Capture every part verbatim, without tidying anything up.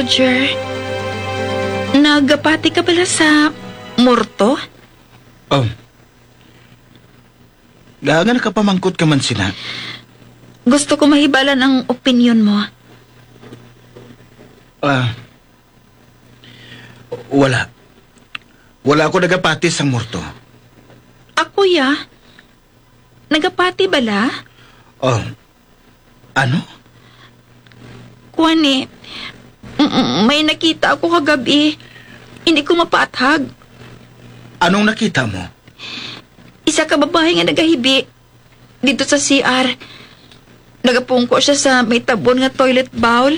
Roger, nagapati ka bala sa morto? Oh. Nga, nga nakapamangkot ka man sina? Gusto ko mahibalan ang opinyon mo. Ah, wala. Wala ako nagapati sang morto. Ako, ya? Nagapati bala? Oh, ano? Kuan ni, m-, m-, may nakita ako kagabi. Hindi ko mapaathag. Anong nakita mo? Isa ka babae nga nagahibi dito sa C R. Nagapungko siya sa may tabon nga toilet bowl.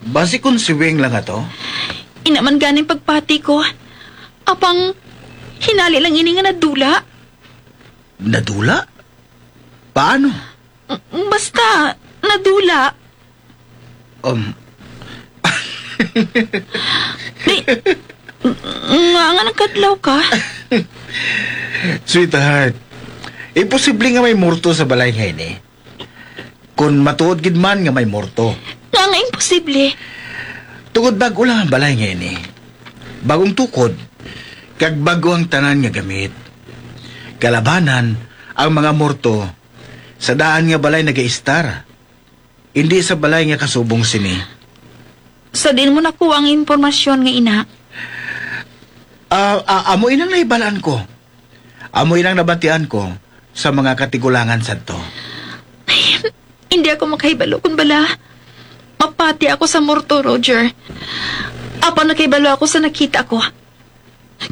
Basi kon si Wing lang ato? Ina man ganing pagpati ko. Apang hinali lang ini nga nadula. Nadula? Paano? M-, basta, nadula. Um. Di, nga, nga nagkadlaw ka? Sweetheart, imposible nga may morto sa balay nga ini. Kon matuod gid man nga may morto. Nga nga imposible? Tungod bag-o lang ang balay nga ini. Bagong tukod, kag bag-o ang tanan nga gamit. Kalabanan, ang mga morto sa daan nga balay nagaistar. Hindi sa balay nga kasubong sini. Sa diin mo nakuha ang impormasyon nga ina? Ah, ah, amo inang nahibalaan ko. Amo inang nabatian ko sa mga katigulangan sadto. Hindi ako makahibalo kung bala mapati ako sa morto, Roger. Apan nakahibalo ako sa nakita ko.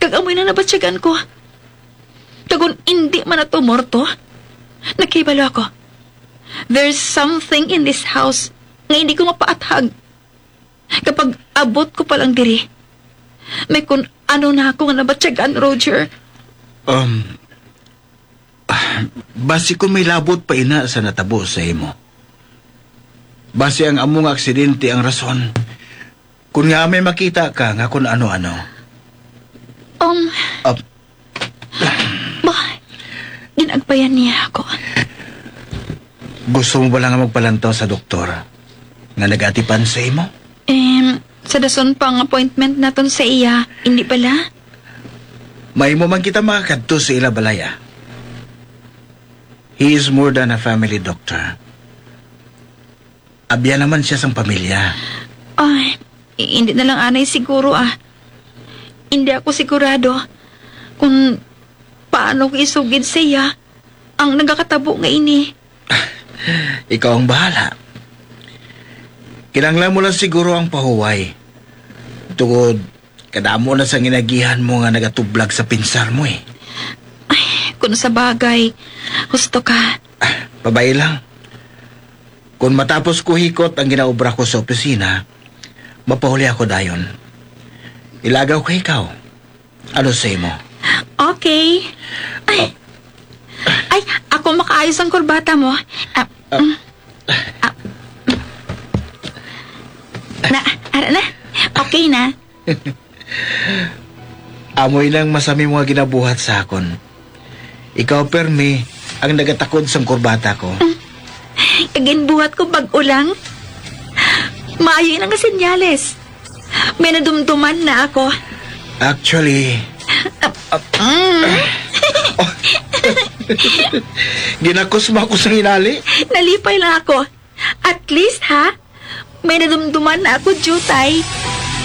Kag amo inang nabatyagan ko. Kag kon indi man ato morto, nakahibalo ako. There's something in this house nga hindi ko mapaathag. Kapag abot ko pa lang diri, may kun ano na ako nga nabatyagan, Roger. Um, basi kung may labot pa ina sa natabo sa imo. Basi ang amo nga aksidente ang rason. Kung nga may makita ka nga kung ano-ano. Um, Ap- Ba, ginagpayan niya ako. Gusto mo ba lang magpalantaw sa doktor nga nagatipan sa imo? Em, sa dason pa ang appointment naton sa iya, hindi bala? May mo man kita makakadto sa ila balaya. He is more than a family doctor. Abyan naman siya sang pamilya. Ay, hindi na lang anay siguro, ah. Hindi ako sigurado kung paano ko isugid sa iya ang nagakatabo nga ini. Ikaw ang bahala. Kinahanglan mo lang siguro ang pahuway. Tungod, kadamo na sang inagihan mo nga nagatublag sa pinsar mo, eh. Ay, kung sa bagay, husto ka. Ah, pabay lang. Kung matapos ko hikot ang ginaobra ko sa opisina, mapahuli ako dayon. Ilagaw ko ikaw. Ano sa imo? Okay. Ay. Oh. Ay, ako makaayos ang kurbata mo. Ah, Ah. Mm. Ah. Na, ara na. Okay na. Amoy nang masami mga ginabuhat sa akon. Ikaw, permi, ang nagatakod sang kurbata ko. Kaginbuhat ko bag-o lang. Maayo ina nga senyales. May nadumduman na ako. Actually, Ah, ah, mm. Oh. Ginakusma ko sa hinali. Nalipay lang ako. At least, ha? May nadumduman na ako, Jutay.